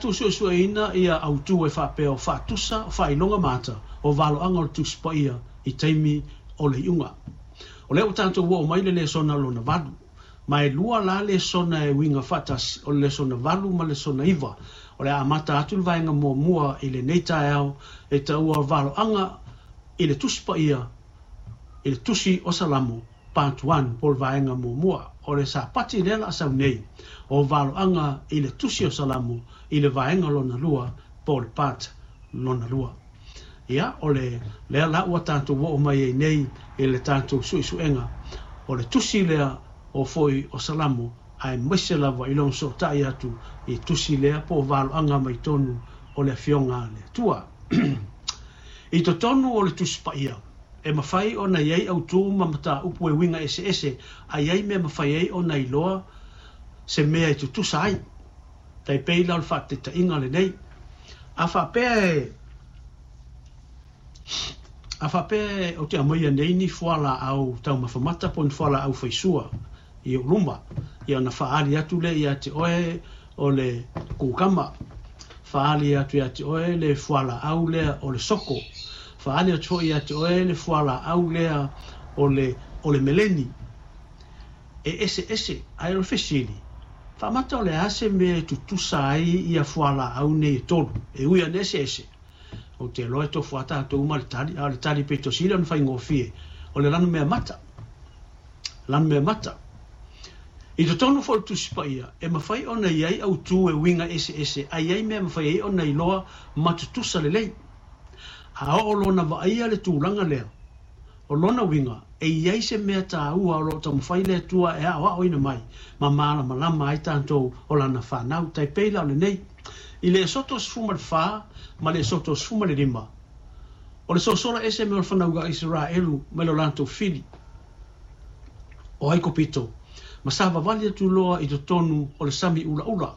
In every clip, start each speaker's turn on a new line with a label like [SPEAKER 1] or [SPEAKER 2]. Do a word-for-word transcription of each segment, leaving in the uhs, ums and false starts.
[SPEAKER 1] tatou suesueina ia autū e faapea o faatusa, o faailoga mata, o valoaga o le Tusi Paia i taimi o le iuga. O lea ua tatou oo mai le lesona lona valu. Ma e lua la lesona e uiga faatasi, o le lesona valu ma le lesona iva. O le a amata atu le vaega muamua i lenei taeao e taua valoaga i le Tusi Paia, i le Tusi o Salamo, Part one, po o le vaega muamua. O le Sapati lea la sau nei, o valoaga i le Tusi o Salamo i le vaega lona lua, po o le part lona lua. Ia, o le lea la ua tatou oo mai ai nei i le tatou suesuega. O le tusi lea o foi o Salamo, aemaise lava i lona sootai atu i tusi lea po o valoaga mai tonu o le Afioga a le Atua. I totonu o le Tusi Paia, e mafai ona i ai autū ma mataupu e uiga eseese, a i ai mea mafai ai ona iloa se mea e tutusa ai. Tai pei la o le faataitaiga lenei. A faapea e A faapea e ou te aumaia nei ni fualaau taumafamata po o ni fualaau faisua i ou luma, ia ona faaali atu lea ia te oe o le kukama, faaali atu ia te oe le fualaau lea o le soko, faaali atu foi ia te oe le fualaau lea o le, o le meleni. E eseese, ae o le fesili, faamata o le a se mea e tutusa ai ia fualaau nei e tolu, e ui ina eseese. Ou te iloa e tofu lava tatou ma le tali, a o le tali pito sili ona faigofie, o le lanumea mata. Lanumea mata. I totonu foi o le Tusi Paia, e mafai ona i ai autū e uiga eseese, a i ai mea e mafai ai ona iloa ma tutusa lelei. A oo loa ona vaaia le tulaga lea, o lona uiga, e i ai se mea taua o lo o taumafai le Atua e aoaoina mai ma malamalama ai tatou o Lana fanau. Tai pei la o lenei, i le Esoto sefulu ma le fa ma le Esoto sefulu ma le lima, o le sosola ese mai o le fanau a Iseraelu mai lo latou fili o Aikopito, ma savavali atu loa i totonu o le sami ulaula.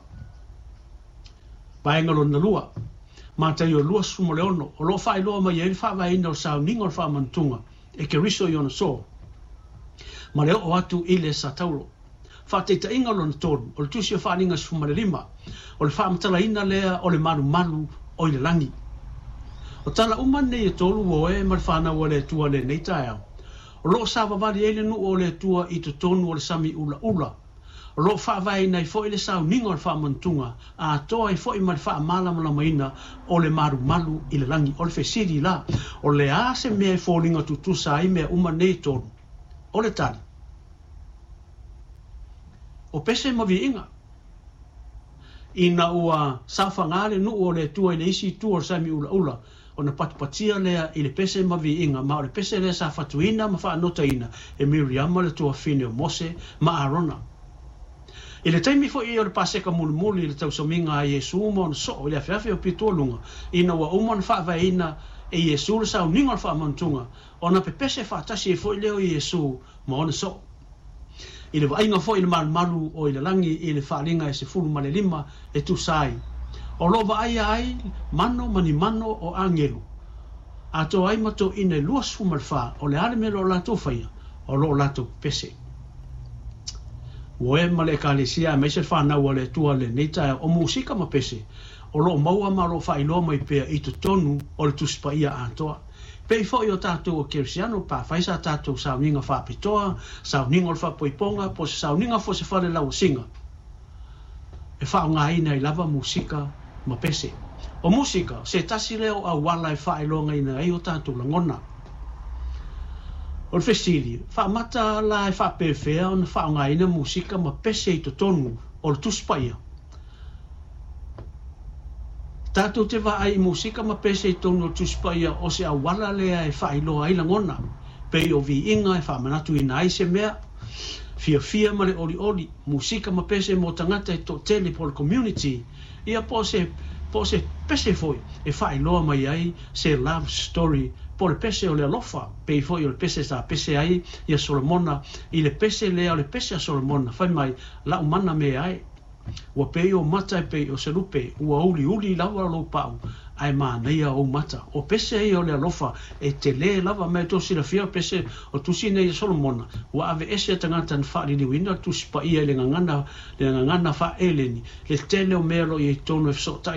[SPEAKER 1] Vaega lona lua, Mataio luasefulu ma le ono, o lo o faailoa mai ai le faavaeina o le sauniga o le faamanutuga e Keriso i ona soo, ma le oo atu i le Sataulo. Faataitaiga lona tolu, o le Tusi o Faaaliga sefulu ma le lima, o le faamatalaina lea o le malumalu o i le lagi. O tala uma nei e tolu o e ma le fanau a le Atua lenei taeao, o lo o savavali ai le nuu o le Atua i totonu o le sami ulaula. O lo o faavaeina ai foi le sauniga o le faamanutuga, atoa ai foi ma le faamalamalamaina o le malumalu i le lagi. O le fesili la, o le a se mea e foliga tutusa ai mea uma nei e tolu? O le tali, o pese ma viiga. Ina ua saofaga le nuu o le Atua i le isi itu o le sami ulaula, ona patupatia lea i le pese ma viiga, ma o le pese lea sa fatuina ma faanotaina e Miriama le tuafine o Mose ma Arona. I le taimi foi o le Paseka mulimuli i le tausamiga a Iesu ma ona soo i le afeafe o pitoaluga, ina ua uma ona faavaeina e Iesu le sauniga o le faamanutuga, ona pepese faatasi ai foi lea o Iesu ma ona soo. I le vaaiga foi i le malumalu o i le lagi i le Faaaliga e sefulu ma le lima e tusa ai, o lo o vaaia ai mano ma ni mano o agelu, atoa ai ma toeaiina e luasefulu ma le fa, o le a le mea o lo o latou faia, o lo o latou pepese. Ua e ma le Ekalesia aemaise le fanau a le Atua lenei taeao, o musika ma pese o lo o maua ma o lo o faailoa mai pea i totonu o le Tusi Paia atoa. Pei foi o tatou o Kerisiano, pa fai sa tatou sauniga faapitoa, sauniga o le faapoipoga, po o se sauniga foi o se fale lauasiga, e faaaogaina ai lava musika ma pese. O musika, se tasi lea o auala e faailogaina ai o tatou lagona. O le fesili, faamata la e faapefea ona faaaogaina musika ma pese i totonu o le Tusi Paia? Tatou te vaai i musika ma pese i totonu o le Tusi Paia o se auala lea e faailoa ai lagona, pei o viiga e faamanatuina ai se mea fiafia ma le olioli, musika ma pese mo tagata e toatele po o le community, ia po o se, po o se pese foi e faailoa mai ai se love story po o le pese o le alofa, pei foi o le pese sa pese ai ia Solomona i le pese lea o le pese a Solomona, fai mai, lau mana mea ai. Ua pei o mata e pei o se lupe, ua uliuli lava lou pau, ae manaia ou mata. O pese ia o le alofa e tele lava ma e tou silafia o pese o tusi nei e Solomona, ua aveese tagata na faaliliuina le Tusi Paia i le gagana, le gagana faa-Eleni, le tele o mea o lo o i ai totonu e fesootai